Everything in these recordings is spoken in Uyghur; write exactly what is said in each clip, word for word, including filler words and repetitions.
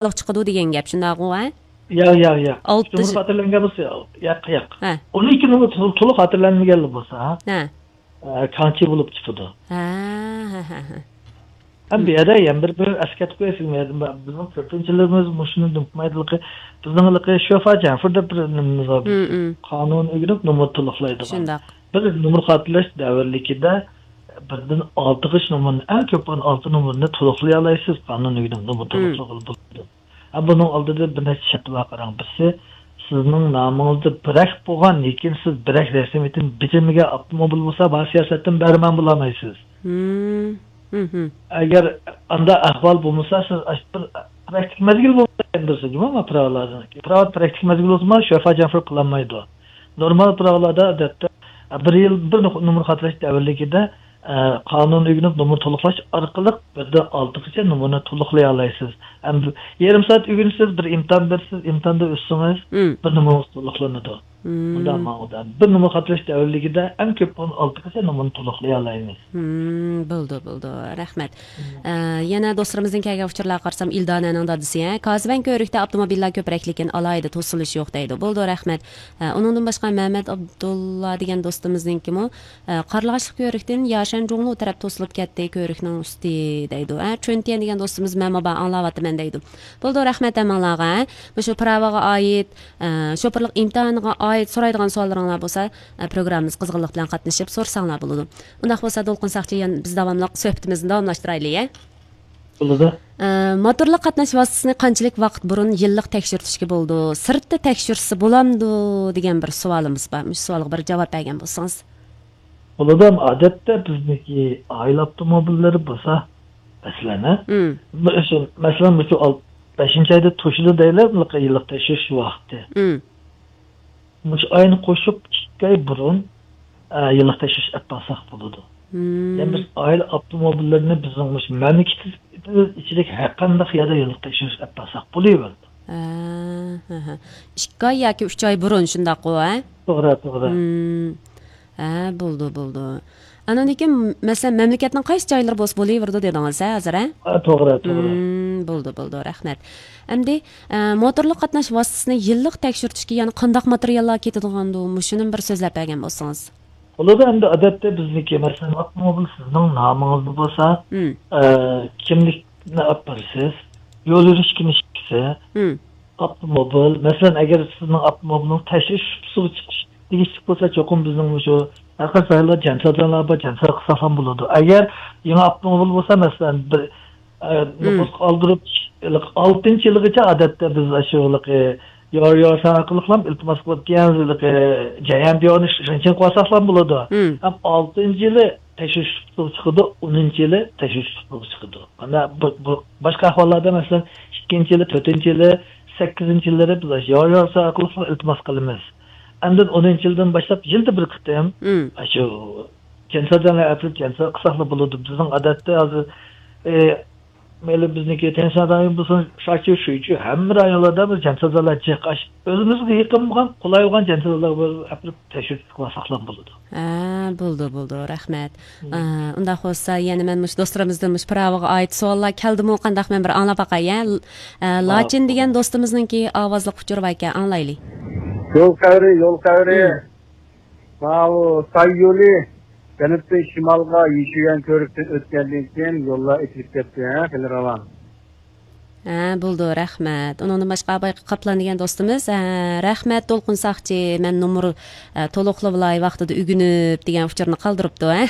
خاتالىق چىقىدۇ دېگەن گەپ، شۇنداقغۇ، ھە؟ ياق، ياق، ياق. ئالتە نومۇر خاتىرىلەنگەن بولسا، ياق، ياق. ھە. ئون ئىككى نومۇر تول-، تولۇق خاتىرىلەنمىگەنلا بولسا، ھە. ھە. ئە، كانچى بولۇپ چىقىدۇ. ھە، ھە، ھە، ھە. ھەم بۇ يەردە يەنە بىر، بىر ئەسكەرتىپ قوياي سىزگە. بىزنىڭ كۆپىنچىلىرىمىز مۇشۇنى ئۇنتۇمايدۇ. بىزنىڭ ھېلىقى شۆفا جەنفىر دەپ بىر نېمىمىز بار. مم، مم. قانۇن ئۆگىنىپ نومۇر تولۇقلايدىغان. شۇنداق. بىر نومۇر خاتىرىلەش دەۋرلىكىدە بىردىن ئالتىغىچە نومۇرنى، ئەڭ كۆپ بولغان ئالتە نومۇرنى تولۇقلىيالايسىز، قانۇن ئۆگىنىپ نومۇر مم. تولۇقلىغىلى بولىدۇ. ھە، بۇنىڭ ئالدىدا بىر نەچچە شەرت بار، قاراڭ. بىرسى، سىزنىڭ نامىڭىزدا بىرەك بولغان، لېكىن سىز بىرەك رەسمىيىتىنى بېجىرمىگەن ئاپتوموبىل بولسا، بار سىياسەتتىن بەھرىمەن بولالمايسىز. مم. مم. ئەگەر ئانداق ئەھۋال بولمىسا، سىز ئاش-، بىر پراكتىك مەزگىل بولمىسا، ئەندىرسە جۇمۇ، ما پىراۋالاردىن. پىراۋا پراكتىك مەزگىل بولسىمۇ، شۆفا جەنفىر قىلالمايدۇ. نورمال پىراۋالاردا، ئادەتتە، بىر يىل بىر نوق-، نومۇر خاتىرىلەش دەۋرلىكىدە، ئە، قانۇن ئۆگىنىپ نومۇر تولۇقلاش ئارقىلىق بىردىن ئالتىغىچە نومۇرنى تولۇقلىيالايسىز. ئەمدى يېرىم سائەت ئۆگىنىسىز، بىر ئىمتىھان بېرىسىز، ئىمتىھاندا ئۆتسىڭىز، مم. بىر نومۇرىڭىز تولۇقلىنىدۇ. مم. مۇنداق ماڭىدۇ. بىر نومۇر خاتىرىلەش دەۋرلىكىدە ئەڭ كۆپ بولغان ئالتىغىچە نومۇرنى تولۇقلىيالايمىز. مم، بولدى، بولدى. رەھمەت. مم. ئە، يەنە دوستلىرىمىزدىن كەلگەن ئۇچۇرلارغا قارىسام، ئىلدانەنىڭ دادىسى، ھە، كازىبەن كۆۋرۈكتە ئاپتوموبىللار كۆپرەك، لېكىن ئالاھىدە توسۇلۇش يوق دەيدۇ. بولدى، رەھمەت. ئە، ئۇنىڭدىن باشقا مەمەت ئابدۇللا دېگەن دوستىمىزنىڭكىمۇ، ئە، قارلىغاچلىق كۆۋرۈكتىن ياشەن جۇڭلۇ تەرەپ توسۇلۇپ كەتتى، كۆۋرۈكنىڭ ئۈستى دەيدۇ. ئە، چۈنتيەن دېگەن دوستىمىز مەن بابا ئاڭلاۋاتىمەن دەيدۇ. بولدى، رەھمەت ھەممىڭلارغا. مۇشۇ پىراۋىغا ئائىت، ئە، شوپۇرلۇق ئىمتىھانىغا ئائىت سورايدىغان سوئاللىرىڭلار بولسا، ئە، پروگراممىمىز قىزغىنلىق بىلەن قاتنىشىپ سورىساڭلار بولىدۇ. ئۇنداق بولسا، دولقۇن ساقچى، يەنە بىز داۋاملىق سۆھبىتىمىزنى داۋاملاشتۇرايلى، يە؟ بولىدۇ. ئە، موتورلۇق قاتناش ۋاسىتىسىنى قانچىلىك ۋاقىت بۇرۇن يىللىق تەكشۈرتۈشكە بولىدۇ؟ سىرتتا تەكشۈرسە بولامدۇ دېگەن بىر سوئالىمىز بار. مۇشۇ سوئالغا بىر جاۋاب بەرگەن بولسىڭىز. بولىدۇ، ئادەتتە بىزنىڭكى ئائىلە ئاپتوموبىللىرى بولسا، مەسىلەن، ھە؟ مم. مەسىلەن، مۇشۇ ئال-، بەشىنچى ئايدا توشىدۇ دەيلى، يىللىق تەكشۈرۈش ۋاقتى. مم. مۇشۇ ئاينى قوشۇپ ئىككى ئاي بۇرۇن، ئە، يىللىق تەكشۈرۈش ئەپ بارساق بولىدۇ. مم. يەنى بىز ئائىلە ئاپتوموبىللىرىنى بىزنىڭ مۇشۇ مەملىكىتىمىز ئىچىدىكى ھەر قانداق يەردە يىللىق تەكشۈرۈش ئەپ بارساق بولۇۋېرىدۇ. ھە، ھە، ھە. ئىككى ئاي ياكى ئۈچ ئاي بۇرۇن شۇنداققۇ، ھە؟ توغرا، توغرا. مم. ھە، بولدى، بولدى. ئاندىن كېيىن، مەسىلەن، مەملىكەتنىڭ قايسى جايلىرى بولسا بولۇۋېرىدۇ دېدىڭىز، ھە، ھازىر، ھە؟ ھە، توغرا، توغرا. مم، بولدى، بولدى، رەھمەت. ئەمدى، ئە، موتورلۇق قاتناش ۋاسىتىسىنى يىللىق تەكشۈرتۈشكە يەنە قانداق ماتېرىياللار كېتىدىغاندۇ؟ مۇشۇنىمۇ بىر سۆزلەپ بەرگەن بولسىڭىز. بولىدۇ، ئەمدى ئادەتتە بىزنىڭكى، مەسىلەن، ئاپتوموبىل سىزنىڭ نامىڭىزدا بولسا، مم. ئە، كىملىكنى ئاپىرىسىز، يول يۈرۈش كىنىشكىسى، مم. ئاپتوموبىل، مەسىلەن، ئەگەر سىزنىڭ ئاپتوموبىلىڭىز تەكشۈرۈش سۇپىسىغا چىقىش تېگىشلىك بولسا، چوقۇم بىزنىڭ مۇشۇ ھەر قايسى رايونلاردا جانسازلار بار، جانساز قىلساقلام بولىدۇ. ئەگەر يېڭى ئاپتوموبىل بولسا، مەسىلەن، بىر، ئە، مم. نوپۇسقا ئالدۇرۇپ، ئالتىنچى يىلىغىچە ئادەتتە بىز ئاشۇ، يار يارسان ئارقىلىقلام ئىلتىماس قىلىپ كەلگەن، جەيەن دىيارنى شۇنچە قىلساقلام بولىدۇ. مم. ھەم ئالتىنچى يىلى تەكشۈرۈش سۇپىسىغا چىقىدۇ، ئونىنچى يىلى تەكشۈرۈش سۇپىسىغا چىقىدۇ. مانا بۇ، بۇ باشقا ئەھۋاللاردا، مەسىلەن، ئىككىنچى يىلى، تۆتىنچى يىلى، سەككىزىنچى يىللىرى بىز يار يارسان ئارقىلىق ئىلتىماس قىلىمىز. ئاندىن ئونىنچى يىلدىن باشلاپ يىلدا بىر قېتىم مم. ئاشۇ جانسازلارنى ئەپىرىپ جانساز قىلساقلا بولىدۇ. بىزنىڭ ئادەتتە ھازىر، ئە، مەيلى بىزنىڭكى تيەنشان رايون بولسۇن، شاچيۇ، شۇيچۇ، ھەممە رايونلاردا بىز جانسازلار جىق. ئاش-، ئۆزىمىزگە يېقىن بولغان، قولاي بولغان جانسازلارغا ئەپىرىپ تەكشۈرتۈپ قىلساقلا بولىدۇ. ھە، بولدى، بولدى، رەھمەت. مم. ئە، ئۇنداق بولسا، يەنە مەن مۇشۇ دوستلىرىمىزدىن مۇشۇ پىراۋىغا ئائىت سوئاللار كەلدىمۇ، قانداق، مەن بىر ئاڭلاپ باقاي، ھە؟ ئە، ھە، لاچىن دېگەن دوستىمىزنىڭكى ئاۋازلىق ئۇچۇرى باركەن، ئاڭلايلى. يول خەۋىرى، يول خەۋىرى. مم. ماۋۇ ساي يولى جەنۇبتىن شىمالغا يېشىل يۈگەن كۆۋرۈكتىن ئۆتكەندىن كېيىن يوللار ئېچىلىپ كەتتى، ھە، خېلى راۋان. ھە، بولدى، رەھمەت. ئۇنىڭدىن باشقا بايىقى قاپلان دېگەن دوستىمىز، ھە، رەھمەت، دولقۇن ساقچى، مەن نومۇر، ھە، تولۇقلىۋالاي ۋاقتىدا ئۆگىنىپ دېگەن ئۇچۇرنى قالدۇرۇپتۇ، ھە.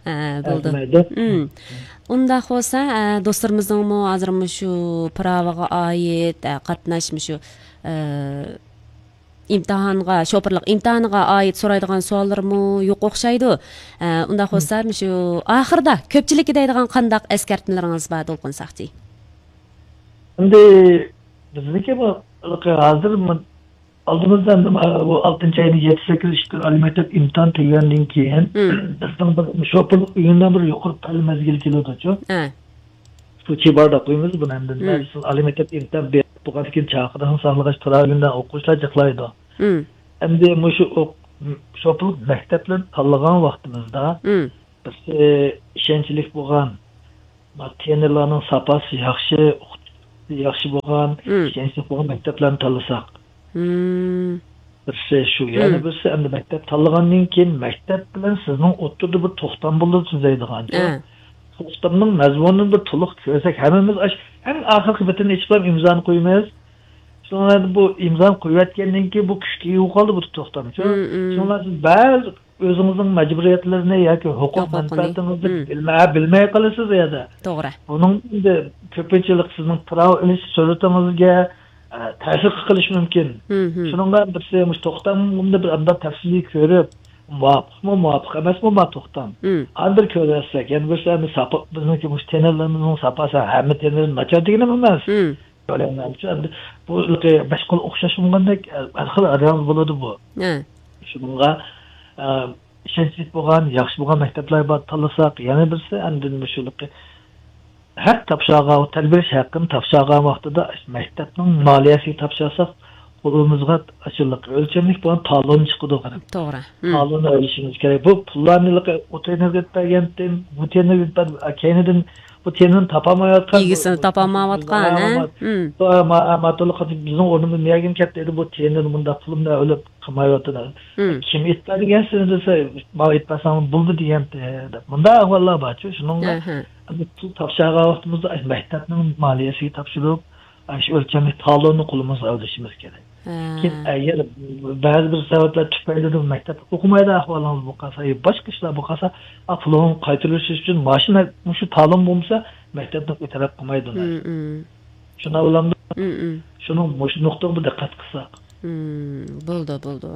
ھە، بولدى. رەھمەت. مم. ئۇنداق بولسا، ھە، دوستلىرىمىزنىڭمۇ ھازىر مۇشۇ پىراۋىغا ئائىت، ھە، قاتناش مۇشۇ، ھە، ئىمتىھانغا، شوپۇرلۇق ئىمتىھانىغا ئائىت سورايدىغان سوئاللىرىمۇ يوق ئوخشايدۇ. ئە، ئۇنداق مم. بولسا، مۇشۇ ئاخىرىدا كۆپچىلىككە دەيدىغان قانداق ئەسكەرتمىلىرىڭىز بار، دولقۇن ساقچى؟ ئەمدى بىزنىڭكى بۇ، ھازىر مۇ-، ئالدىمىزدا ئەمدى ما-، بۇ ئالتىنچى ئاينىڭ يەتتە، سەككىز، ئىككى كۈن ئالىي مەكتەپ ئىمتىھان تۈگىگەندىن كېيىن، مم. بىزنىڭ بىر شوپۇرلۇق ئۆگۈنىدىغان بىر يۇقىرى پەل مەزگىلى كېلىدۇچۇ. ھە. سۇچى بار دەپ قويىمىز بۇنى ئەمدى. مم. مەن ئالىي مەكتەپ ئىمتىھان بېرىپ بولغاندىن كېيىن چاقىرىقنى ساقلىغاچ تۇرار ئۆگۈندە ئوقۇغۇچىلار جىقلايدۇ. مم. ئەمدى مۇشۇ ئوق-، شوپۇرلۇق مەكتەپلىرىنى تاللىغان ۋاقتىمىزدا، مم. بىرسى ئىشەنچلىك بولغان، ما-، ترېنېرلارنىڭ ساپاسى ياخشى، ئوقۇت-، ياخشى بولغان، مم، ئىشەنچلىك بولغان مەكتەپلەرنى تاللىساق. مم. بىرسى شۇ، يەنە، مم، بىرسى ئەمدى مەكتەپ تاللىغاندىن كېيىن مەكتەپ بىلەن سىزنىڭ ئوتتۇرىدا بىر توختام بولىدۇ تۈزەيدىغان. ئە. توختامنىڭ مەزمۇنىنى بىر تولۇق كۆرسەك، ھەممىمىز ئاش-، ئەڭ ئاخىرقى بېتىنى ئېچىپلا ئىمزانى قويىمىز. شۇڭا بۇ ئىمزانى قويۇۋەتكەندىن كېيىن بۇ كۈچكە ئىگە بولۇپ قالدى بۇ توختامچۇ. مم، مم. شۇڭا سىز بەزى ئۆزىڭىزنىڭ مەجبۇرىيەتلىرىنى ياكى ھوقۇق، ھوقۇقنى، مەنپەئەتىڭىزنى، مم، بىلمە-، بىلمەي قالىسىز ئۇ يەردە. توغرا. بۇنىڭ ئەمدى كۆپىنچىلىك سىزنىڭ پىراۋا ئېلىش سۈرئىتىڭىزگە، ئە، تەسىر قىلىشى مۇمكىن. مم، مم. شۇنىڭغا بىرسى مۇشۇ توختامنى بىر ئانداق تەپسىلىي كۆرۈپ، مۇۋاپىقمۇ، مۇۋاپىق ئەمەسمۇ ما توختام. مم. ئاندىن كۆرۈۋەتسەك، يەنە بىرسى ئەمدى ساپا، بىزنىڭكى مۇشۇ تېنېرلىرىمىزنىڭ ساپاسى ھەممە تېنېر ناچار دېگىنىم ئەمەس. مم. كۆرەڭلارچۇ، ئەمدى بۇ بەش قول ئوخشاش بولغاندەك، ھەر خىل رەڭ بولىدۇ بۇ. ھە. شۇنىڭغا، ئە، ئىشەنچلىك بولغان، ياخشى بولغان مەكتەپلەر بار تاللىساق، يەنە بىرسى ئەمدى مۇشۇلۇقى ھەق تاپشۇرغان، تەربىيەلەش ھەققىنى تاپشۇرغان ۋاقتىدا مەكتەپنىڭ مالىيەسىگە تاپشۇرساق، قولىمىزغا ئاشۇلۇق ئۆلچەملىك بولغان تالون چىقىدۇ، قاراڭ. توغرا. مم. تالوننى ئۆلچىشىمىز كېرەك. بۇ پۇللارنى ئوتتۇرا ئېنېرگىيە بەرگەنتىم، بۇ تېنېرگە بەر-، كەينىدىن بۇ تېنىنى تاپالمايۋاتقان، ئىگىسىنى تاپالمايۋاتقان، ھە؟ مم. بۇ ما-، ما-، ماتولۇق بىزنىڭ ئورنىمىزدا مەگىن كەتتى دەيدۇ، بۇ تېنىنى مۇنداق پۇلۇمنى ئۆلۈپ قىلمايۋاتىدۇ. مم. كىم ئېيتىپ بەرگەن سىزنى دېسە، ماڭا ئېيتىپ بەرسەڭ بولدى دېگەنتى دەپ. مۇنداق ئەھۋاللار بارچۇ، شۇنىڭغا ئەھە. ئەمدى پۇل تاپشۇرغان ۋاقتىمىزدا مەكتەپنىڭ مالىيەسىگە تاپشۇرۇپ، ئاشۇ ئۆلچەملىك تالوننى قولىمىزغا ئېلىشىمىز كېرەك. ھە. كېيىن، ئەگەر بەزى بىر سەۋەبلەر تۈپەيلىدىن مەكتەپتە ئوقۇمايدىغان ئەھۋالىڭىز بولۇپ قالسا، يا باشقا ئىشلار بولۇپ قالسا، ئا، پۇلۇڭنى قايتۇرۇش ئۈچۈن ماشىنا، مۇشۇ تالون بولمىسا، مەكتەپنى ئېتىراپ قىلمايدۇ. مم، مم. شۇنداق بولامدۇ؟ مم، مم. شۇنىڭ مۇشۇ نۇقتىغا بىر دىققەت قىلساق. مم، بولدى، بولدى.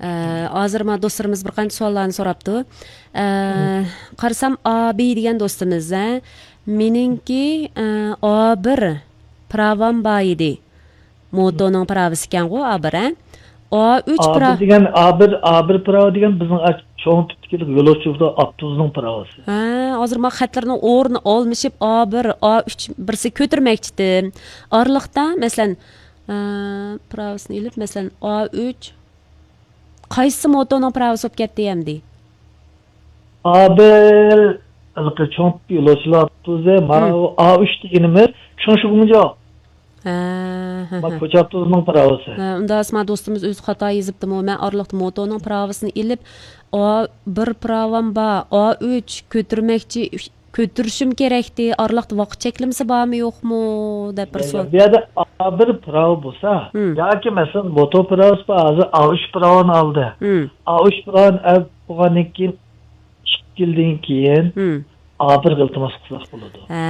ئە، ھازىر ما دوستلىرىمىز بىر قانچە سوئاللارنى سوراپتۇ. ئە، مم. قارىسام، ئا بى دېگەن دوستىمىز، ھە، مېنىڭكى، ئە، ئا بىر پىراۋام بار ئىدى. موتونىڭ پىراۋىسى ئىكەنغۇ، ئا بىر، ھە؟ ئا ئۈچ، ئا بىر پىرا- دېگەن، ئا بىر، ئا بىر پىراۋا دېگەن بىزنىڭ ئا-، چوڭ تىپتىكى يولۇچى ئاپتوبۇسنىڭ پىراۋىسى. ھە، ھازىر ما خەتلەرنىڭ ئورنى ئالمىشىپ، ئا بىر، ئا ئۈچ بىرسى كۆتۈرمەكچىدىم. ئارىلىقتا، مەسىلەن، ئە، پىراۋىسىنى ئېلىپ، مەسىلەن، ئا ئۈچ، قايسى موتونىڭ پىراۋىسى بولۇپ كەتتى ئەمدى؟ ئا بىر، ھېلىقى چوڭ يولۇچىلار ئاپتوبۇسى، مانا، ھىم. ئۇ ئا ئۈچ دېگىنىمىز شۇڭشىگۇڭجاۋ. ھە، ھە، ما، ھە. كوچا ئاپتوبۇسىنىڭ پىراۋىسى. ھە، ئۇنداق ئەسما دوستىمىز ئۆزى خاتا يېزىپتىمۇ، مەن ئارىلىقتا موتونىڭ پىراۋىسىنى ئېلىپ، ئا بىر پىراۋام بار، ئا ئۈچ كۆتۈرمەكچى، ئۈچ، كۆتۈرۈشۈم كېرەكتى، ئارىلىقتا ۋاقىت چەكلىمىسى بارمۇ يوقمۇ دەپ بىر يا، سوئال. بۇ يەردە ئا بىر پىراۋا بولسا، ھىم. ياكى مەسىلەن، موتو پىراۋىسى بار، ھازىر ئا ئۈچ پىراۋانى ئالدى. ھىم. ئا ئۈچ پىراۋانى ئېلىپ بولغاندىن كېيىن، ئىككى يىلدىن كېيىن ھىم. ئا بىرگە ئىلتىماس قىلساق بولىدۇ. ھە،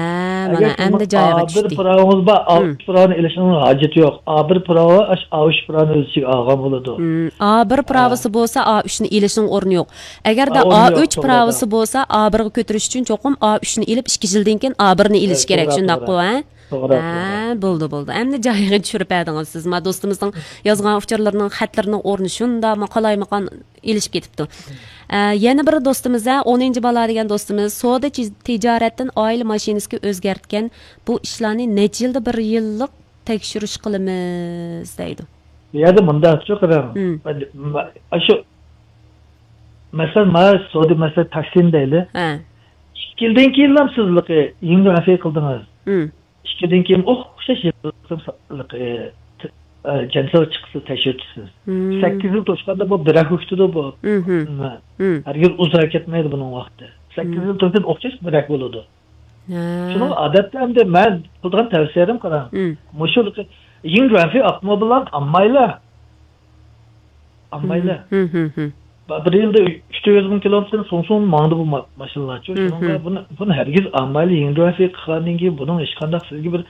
مانا ئەمدى جايىغا چۈشتى. ئا بىر پىراۋىڭىز بار، ھىم. ئا ئۈچ پىراۋىنى ئېلىشنىڭ ھاجىتى يوق. ئا بىر پىراۋا ئاش-، ئا ئۈچ پىراۋىنى ئۆز ئىچىگە ئالغان بولىدۇ. ھىم، ئا بىر ھە. پىراۋىسى بولسا، ئا ئۈچنى ئېلىشنىڭ ئورنى يوق. ئەگەردە ئا، ئورنى ئا يوق، ئۈچ توغرا، پىراۋىسى توغرا. بولسا، ئا بىرگە كۆتۈرۈش ئۈچۈن چوقۇم ئا ئۈچنى ئېلىپ، ئىككى يىلدىن كېيىن ئا بىرنى ئېلىش ھە، كېرەك، توغرا، شۇنداققۇ، توغرا. ھە؟ توغرا، ھە، توغرا. بولدى، بولدى. ئەمدى جايىغا چۈشۈرۈپ بەردىڭىز سىز. ما دوستىمىزنىڭ يازغان ئۇچۇرلىرىنىڭ، خەتلىرىنىڭ ئورنى شۇنداقمۇ قالايمىقان ئېلىشىپ كېتىپتۇ. ئە، يەنە بىر دوستىمىز، ھە، ئونىنچى بالا دېگەن دوستىمىز، سودا تىج-، تىجارەتتىن ئائىلە ماشىنىسىغا ئۆزگەرتكەن بۇ ئىشلارنى نەچچە يىلدا بىر يىللىق تەكشۈرۈش قىلىمىز دەيدۇ. بۇ يەردە مۇنداقچۇ، قاراڭ. ھىم. مە-، مە-، ئاشۇ، مەسىلەن، مانا سودا، مەسىلەن، تاكسىنى دەيلى. ھە. ئىككى يىلدىن كېيىنلا سىز ھېلىقى يىڭگۇەنفېي قىلدىڭىز. ھىم. ئىككىدىن كېيىن ئوخشاش يىللىق، ئە، جەنسىز چىقىسىز، تەكشۈرتىسىز. مم. سەككىز يىل توشقاندا بۇ بىرەك كېتىدۇ بۇ. مم. مم. ھەرگىز ئۇزاق كەتمەيدۇ بۇنىڭ ۋاقتى. سەككىز مم. يىل توشقان ئوخشاش بىرەك بولىدۇ. ھە. شۇنىڭ ئادەتتە ئەمدى مەن قىلىدىغان تەۋسىيەم، قاراڭ. مم. مۇشۇ يىڭگۇەنفېي ئاپتوموبىللارنى ئالمايلا. ئالمايلا. مم. مم. بىر يىلدا ئۈچ يۈز مىڭ كىلومېتىر سۇڭسۇڭ ماڭدى بۇ ما-، ماشىنىلارچۇ. مم. شۇنىڭغا بۇنى، بۇنى ھەرگىز ئالمايلا، يىڭگۇەنفېي قىلغاندىن كېيىن بۇنىڭ ھېچقانداق سىزگە بىر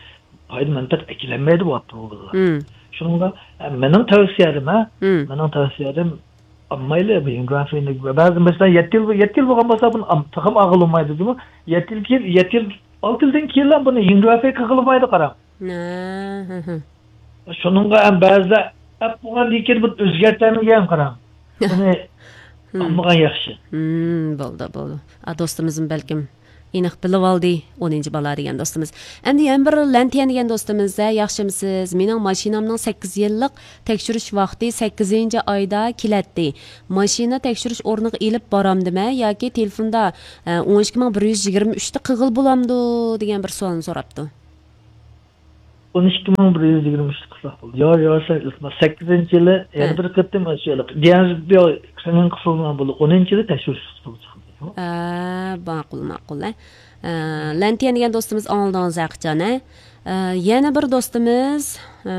پايدا مەنپەئەت ئەكېلەلمەيدۇ بۇ ئاپتوموبىللار. مم. شۇنىڭغا، ئە، مېنىڭ تەۋسىيەم، ھە؟ مم. مېنىڭ تەۋسىيەم ئالمايلا بۇ يىڭگۇەنفېينى. بەزى مەسىلەن، يەتتە يىل، يەتتە يىل بولغان بولسا بۇنى ئال-، تېخىمۇ ئالغىلى بولمايدۇ، جۇمۇ. يەتتە يىل كېيىن، يەتتە يىل، ئالتە يىلدىن كېيىنلا بۇنى يىڭگۇەنفېي قىلغىلى بولمايدۇ، قاراڭ. ھە، ھە، ھە. شۇنىڭغا ھەم بەزىدە ئەپ بولغاندىن كېيىن بىر ئۆزگەرتەلمىگەن، قاراڭ. بۇنى ھىم. ئالمىغان ياخشى. ھىم، بولدى، بولدى. ئا، دوستىمىزمۇ بەلكىم ئېنىق بىلىۋالدى، ئونىنچى بالا دېگەن دوستىمىز. ئەمدى يەنە بىر لەنتىيەن دېگەن دوستىمىز، ھە، ياخشىمۇسىز؟ مېنىڭ ماشىنامنىڭ سەككىز يىللىق تەكشۈرۈش ۋاقتى سەككىزىنچى ئايدا كېلەتتى. ماشىنا تەكشۈرۈش ئورنىغا ئېلىپ بارامدىمەن ياكى تېلېفوندا، ھە، ئون ئىككى مىڭ بىر يۈز يىگىرمە ئۈچتە قىلغىلى بولامدۇ دېگەن بىر سوئالنى سوراپتۇ. ئون ئىككى مىڭ بىر يۈز يىگىرمە ئۈچ قىلساق بولدى. يار، يار، سەن ئىلتىماس، سەككىزىنچى يىلى يەنە ھە. بىر قېتىم شۇ يەنە بىر كرېنىڭ قىسىلغان بولدى. ئونىنچى يىلى تەكشۈرۈش قىلساق بولدى. ھە، ماقۇل، ماقۇل، ھە. ئە، لەنتىيەن دېگەن دوستىمىز ئاڭلىدىڭىز ھەقىچان، ھە. ئە، يەنە بىر دوستىمىز، ئە،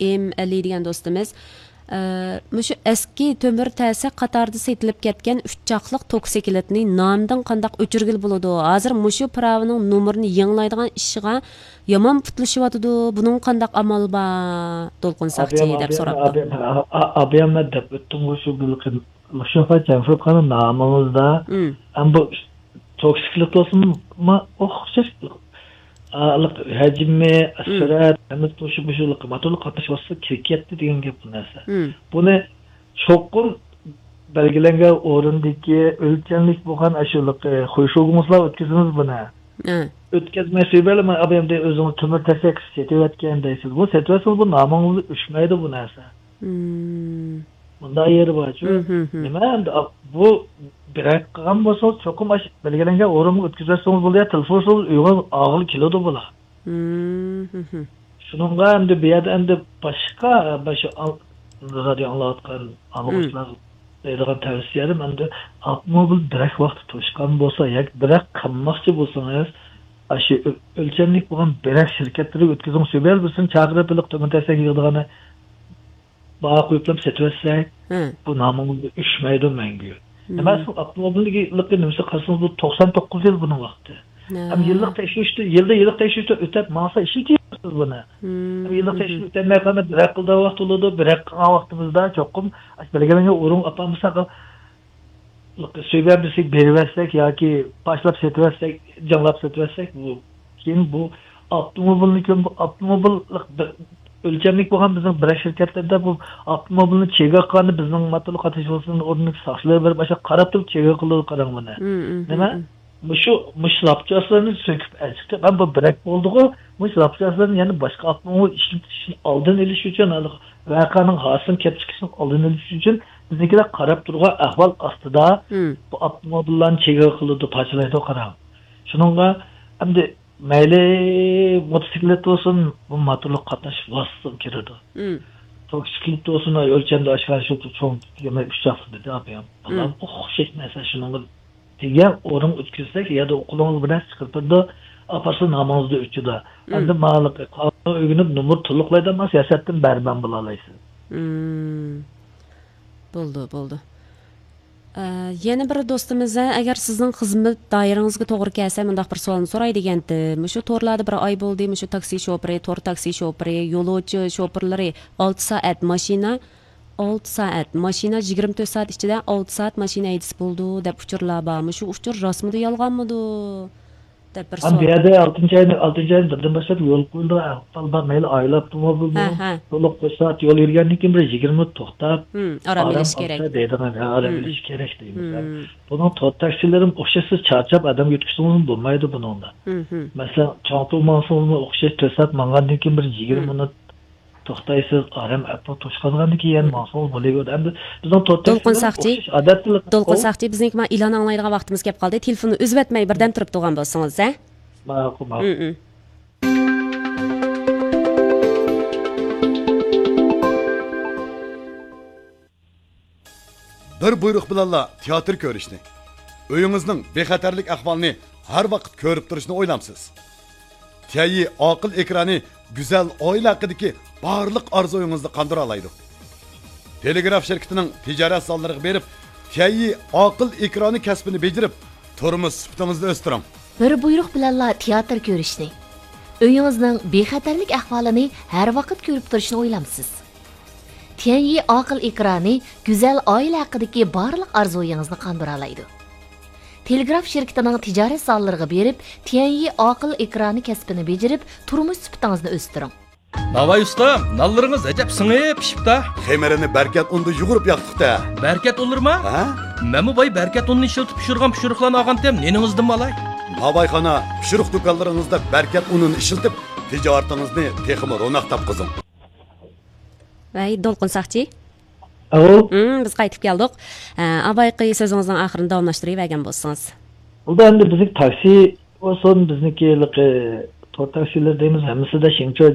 ئېم ئەلى دېگەن دوستىمىز، ئە، مۇشۇ ئەسكى تۆمۈر تەسە قاتاردا سېتىلىپ كەتكەن ئۈچ چاقلىق توكسىكلىتنى نامىدىن قانداق ئۆچۈرگىلى بولىدۇ؟ ھازىر مۇشۇ پىراۋىنىڭ نومۇرىنى يېڭىلايدىغان ئىشىغا يامان پۇتلىشىۋاتىدۇ. بۇنىڭغا قانداق ئامال بار؟ دولقۇن ساقچى دەپ سوراپتۇ. ئابىيام دەپ ئۆتتۈمغۇ شۇ بىر قېتىم. مۇشۇ جەنفۇرخان نامىڭىزدا مم. ھەم بۇ توكسىكلىق بولسىمۇ ئوخشاش، ئا، ھەجمى، مم. سۈرئەت، ھەممىسى توشۇپ مۇشۇ ماتولۇق قاتنىشىۋاتسا كىرىپ كەتتى دېگەن گەپ بۇ نەرسە. مم. بۇنى چوقۇم بەلگىلەنگەن ئورۇندىكى ئۆلچەملىك بولغان ئاشۇ خۇيشۇگۇڭسىلار ئۆتكۈزىمىز بۇنى. ھە. ئۆتكەزمەي سۆيبەرلىمەي ئابىيام دەي ئۆزىڭىز تۆمۈر تەسەك سېتىۋەتكەن دەيسىز. بۇ سېتىۋەتسىڭىز بۇ نامىڭىزدا ئۆچمەيدۇ بۇ نەرسە. مم. مۇنداق يېرى بارچۇ. مم، مم، مم. نېمە ئەمدى، ئا، بۇ بىرەك قىلغان بولسىڭىز، چوقۇم ئاش-، بەلگىلەنگەن ئورۇنغا ئۆتكۈزۈۋەتسىڭىز بولدى يا، تېلېفون سوزۇپ ئۆيىڭىز ئالغىلى كېلىدۇ بۇلار. مم، مم، مم. شۇنىڭغا ئەمدى بۇ يەردە ئەمدى باشقا، باشقا ئاڭ-، رادىيو ئاڭلاۋاتقان ئاڭلىغۇچىلار دەيدىغان تەۋسىيەم ئەمدى ئاپتوموبىل بىرەك ۋاقتى توشقان بولسا ياكى بىرەك قىلماقچى بولسىڭىز، ئاشۇ ئۆ-، ئۆلچەملىك بولغان بىرەك شىركەتلىرىگە ئۆتكۈزۈڭ، سۆيبەر بىرسىنى چاقىرىپ ئېلىپ تۆمۈر تەسەك يىغىدىغاننى بار قويۇپلا سېتىۋەتسەك، ھە. بۇ نامىڭىزدا ئۆچمەيدۇ مەڭگۈ. مم. نېمە، ئاپتوموبىلنىڭ نېمىسى قارىسىڭىز، بۇ توقسان توققۇز يىل بۇنىڭ ۋاقتى. ھە. ھەم يىللىق تەكشۈرۈشتە، يىلدا يىللىق تەكشۈرۈشتە ئۆتەپ ماڭسا ئىشلىتىۋېرىسىز بۇنى. مم. ھەم يىللىق تەكشۈرۈش ئۆتەلمەي قالماي بىرەر قىلىدىغان ۋاقىت بولىدۇ، بىرەر قىلغان ۋاقتىمىزدا چوقۇم بەلگىلەنگەن ئورۇنغا ئاپارمىساق، سۆيگەن بىرسىگە بېرىۋەتسەك ياكى پاچلاپ سېتىۋەتسەك، جاڭلاپ سېتىۋەتسەك، بۇ، كېيىن بۇ ئاپتوموبىلنى كۆم-، بۇ ئاپتوموبىل بىر ئۆلچەملىك بولغان بىزنىڭ بىرەر شىركەتلەردە بۇ ئاپتوموبىلنى چېگرا قىلغاندا بىزنىڭ ماتولۇق قاتنىشىش بولسۇن ئورنىدىكى ساقچىلار بېرىپ ئاشۇ قاراپ تۇرۇپ چېگرا قىلىدۇ، قاراڭ مانا. مم، مم، نېمە؟ مم. مۇشۇ، مۇشۇ زاپچاسلارنى سۆكۈپ ئەلچىقىپ، ھەم بۇ بىرەك بولدىغۇ، مۇشۇ زاپچاسلارنى يەنە باشقا ئاپتوموبىل ئىشلىتىشنى ئالدىنى ئېلىش ئۈچۈن، ھېلىقى ۋەقەنىڭ ھاسىلىنىڭ كېلىپ چىقىشىنىڭ ئالدىنى ئېلىش ئۈچۈن بىزنىڭكىلەر قاراپ تۇرغان ئەھۋال ئاستىدا مم. بۇ ئاپتوموبىللارنى چېگرا قىلىدۇ، پارچىلايدۇ، قاراڭ. شۇنىڭغا ئەمدى مەيلى موتوسىكلىت بولسۇن، بۇ ماتولۇق قاتناش ۋاسىتىسىغا كىرىدۇ. مم. توكسىكلىت بولسۇن، ئۆلچەمدە ئاشكارا شۇ چوڭ يەنە ئۈچ چاقلىق دېدى ئاپىيام. بالام مم. ئوخشاش نەرسە شۇنىڭغا دېگەن ئورۇنغا ئۆتكۈزسەك، يا قولىڭىز بىلەن چىقىرىپ بېرىدۇ، ئاپارسا نامىڭىزدا ئۆچىدۇ. مم. ئەمدى ماڭا قانۇننى ئۆگىنىپ، نومۇر تولۇقلايدىغان بولسا ياسەتتىن بەرىمەن بولالايسىز. مم. بولدى، بولدى. ئە، يەنە بىر دوستىمىز، ئەگەر سىزنىڭ خىزمەت دائىرىڭىزگە توغرا كەلسە، مۇنداق بىر سوئالنى سوراي دېگەنتى. مۇشۇ تورلاردا بىر ئاي بولدى، مۇشۇ تاكسى شوپۇرى، تور تاكسى شوپۇرى، يولۇچى شوپۇرلىرى ئالتە سائەت ماشىنا، ئالتە سائەت ماشىنا، يىگىرمە تۆت سائەت ئىچىدە ئالتە سائەت ماشىنا ھەيدىسە بولىدۇ، دەپ ئۇچۇرلار بار. مۇشۇ ئۇچۇر راستمىدۇ، يالغانمىدۇ؟ دەپ بىر ھەم بۇ سوئال. يەردە ئالتىنچى ئاينىڭ، ئالتىنچى ئاينىڭ بىرىدىن باشلاپ يول قويۇلىدىغان ئەھۋال بار. مەيلى ئائىلە ئاپتوموبىل ھە، بولۇپ، ھە. تولۇق بىر سائەت يول يۈرگەندىن كېيىن بىر يىگىرمە مىنۇت توختاپ، ھىم، ئارام ئارام ئېلىش كېرەك. ئالسا دەيدىغان، ھە، ئارام ھىم، ئېلىش كېرەك دەيمىز. ھىم. بۇنىڭ تور تاكسىلىرىمۇ ئوخشاش، سىز چارچاپ ئادەم يۆتكىسىڭىزمۇ بولمايدۇ بۇنىڭدا. ھىم، ھىم. مەسىلەن، چاڭتۇ ماڭسىڭىزمۇ ئوخشاش، تۆت سائەت ماڭغاندىن كېيىن بىر يىگىرمە ھىم. مىنۇت توختايسىز، ئارام ئەپلا توشقانغاندىن كېيىن يەنە ھىم. ماڭسىڭىز بولىۋېرىدۇ. ئەمدى بىزنىڭ تور دولقۇن تاكسىلىرىمۇ ساقچى، ئوخشاش، ئادەتتە دولقۇن ئۇ ساقچى، بىزنىڭكى مانا ئېلان ئاڭلايدىغان ۋاقتىمىز كەپ قالدى. تېلېفوننى ئۈزۈۋەتمەي بىردەم تۇرۇپ تۇرغان بولسىڭىز، ھە؟ ماقۇل، ماقۇل. مم، مم. بىر بۇيرۇق بىلەنلا تىياتىر كۆرۈشنى، ئۆيىڭىزنىڭ بىخەتەرلىك ئەھۋالىنى ھەر ۋاقىت كۆرۈپ تۇرۇشنى ئويلامسىز؟ تيەنيى ئاقىل ئېكرانى گۈزەل ئائىلە ھەققىدىكى بارلىق ئارزۇيىڭىزنى قاندۇرالايدۇ. تېلېگراف شىركىتىنىڭ تىجارەت زاللىرىغا بېرىپ، تيەنيى ئاقىل ئېكرانى كەسپىنى بېجىرىپ، تۇرمۇش سۈپىتىڭىزنى ئۆستۈرۈڭ. بىر بۇيرۇق بىلەنلا تىياتىر كۆرۈشنى، ئۆيىڭىزنىڭ بىخەتەرلىك ئەھۋالىنى ھەر ۋاقىت كۆرۈپ تۇرۇشنى ئويلامسىز؟ تيەنيى ئاقىل ئېكرانى گۈزەل ئائىلە ھەققىدىكى بارلىق ئارزۇيىڭىزنى قاندۇرالايدۇ. تېلېگراف شىركىتىنىڭ تىجارەت زاللىرىغا بېرىپ، تيەنيى ئاقىل ئېكرانى كەسپىنى بېجىرىپ، تۇرمۇش سۈپىتىڭىزنى ئۆستۈرۈڭ. ناۋاي ئۇستام، نانلىرىڭىز ئەجەب سىڭىپ پىشىپتا. خېمىرىنى بەركەت ئۇندا يۇغۇرۇپ ياقتۇقتا. بەركەت ئۇنلىرىما؟ ھە؟ مەنمۇ باي بەركەت ئۇنىنى ئىشلىتىپ پىشۇرغان پىشۇرۇقلارنى ئالغانتىم، نېنىڭىزدىنمۇ ئالاي؟ ناۋايخانا، پىشۇرۇق دۇكانلىرىڭىزدا بەركەت ئۇنىنى ئىشلىتىپ، تىجارىتىڭىزنى تېخىمۇ روناق تاپقۇزۇڭ. ۋەي، دولقۇن ساقچى. ئاۋۇ. ھىم، بىز قايتىپ كەلدۇق. ئە، ئاۋايقى سۆزىڭىزنىڭ ئاخىرىنى داۋاملاشتۇرۇۋەرگەن بولسىڭىز. بۇ ئەمدى بىزنىڭ تاكسى بولسۇن، بىزنىڭكى ھېلىقى تور تەكشۈلىرى دەيمىز، ھەممىسىدە شېڭچۇ